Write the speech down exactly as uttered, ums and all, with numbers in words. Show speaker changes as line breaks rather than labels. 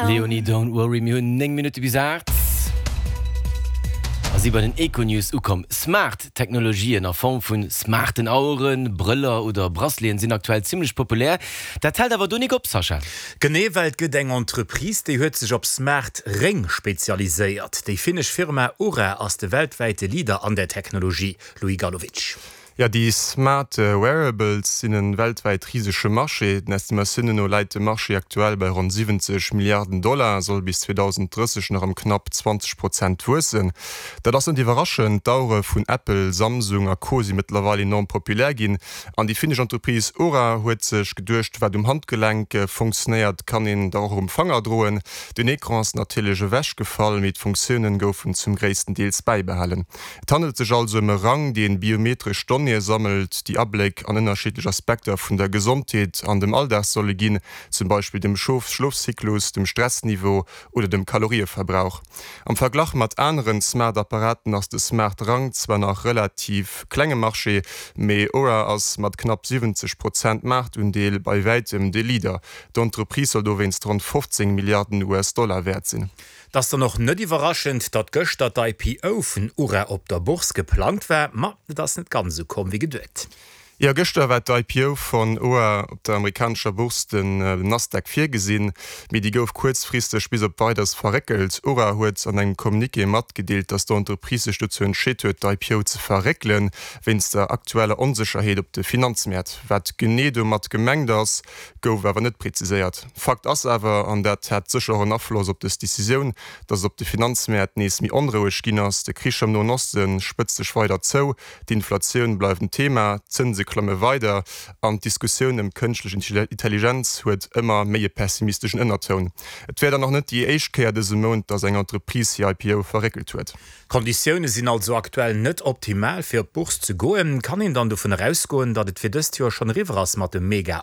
Leonie, Don't Worry. Mir hunn néng Minutte bis aacht a si bei den Econews ukomm. Smart Technologien a Form vu smarten Aueren, Brëller oder Braceleten sinn aktuell zimmlech populär. Dat hält awer do nik op, Sascha.
Genee, well et gëtt eng Entreprise, déi huet sech op smart Réng spezialiséiert. Déi finnesch Firma Oura ass de weltwäite Leader an der Technologie. Louis Gallowitsch.
Jo, déi Smart Wearables sinn e weltwäit risege Marché. Den Estimatiounen no läit de Marché aktuell bei ronn siwwenzeg Milliarden Dollar a soll bis zweedausend drësseg nach ëm knapp zwanzeg Prozent wuessen. Dat ass net iwwerraschend, D'Auere vun Apple, Samsung a Co. Si mëttlerweil enorm populär ginn. An déi finnesch Entreprise Oura huet sech geduecht, wat um Handgelenk funktionéiert, kann een da och um Fanger droen. Den Ecran ass natierlech ewechgefall, mee d'Funktioune goufen zum gréissten Deels bäibehalen. Et handelt sech also ëm e Rang, dee biometresch Donnéeë sammelt, déi Abléck an ënnerschiddlech Aspekter vun der Gesondheet an dem Alldag solle ginn, zum Beispill dem Schlofzyklus, dem Stressniveau oder dem Kalorieverbrauch. Am Verglach mat aneren Smart-Apparaten ass de Smart-Rang zwar nach relativ klenge Marché, mee Oura ass mat knapp siwwenzeg Prozent Maartundeel bei wäitem de Leader. D'Entreprise soll dowéinst ronn fofzéng Milliarden U S-Dollar wäert sinn.
Et ass dann och net iwwerraschend, datt gëschter d'I P O vun Oura op der Bourse geplangt war, ma et ass net ganz esou komm wéi geduecht.
Jo, gëschter war d'I P O vun Oura op der amerikanescher Bourse, den Nasdaq, virgesinn, mee déi gouf kuerzfristeg bis op Weideres verréckelt. Oura huet an engem Communiqué matgedeelt, datt d'Entreprise sech dozou entscheet huet, d'I P O ze verréckelen, wéinst der aktueller Onsécherheet op de Finanzmäert. Wat genee domat gemengt ass, gouf awer net präziséiert. Fakt ass awer, an dat hat sécher och en Afloss op dës Decisioun, datt et op de Finanzmäert nees méi onroueg ginn ass. De Krich am Noen Oste spëtzt sech weider zou, d'Inflatioun bleift en Thema, d'Zënse klamme weider an d'Diskussioun ëm kënschtlech Intelligenz huet ëmmer méi e pessimisteschen Ënnertoun. Et wär dann och net déi éischt Kéier dëse Mount, datt eng Entreprise hir I P O verréckelt huet.
D'Konditioune sinn also aktuell net optimal fir op d'Bourse ze goen. Kann een dann dovun ausgoen, datt et fir dëst Joer schonn eriwwer ass mat dem Mega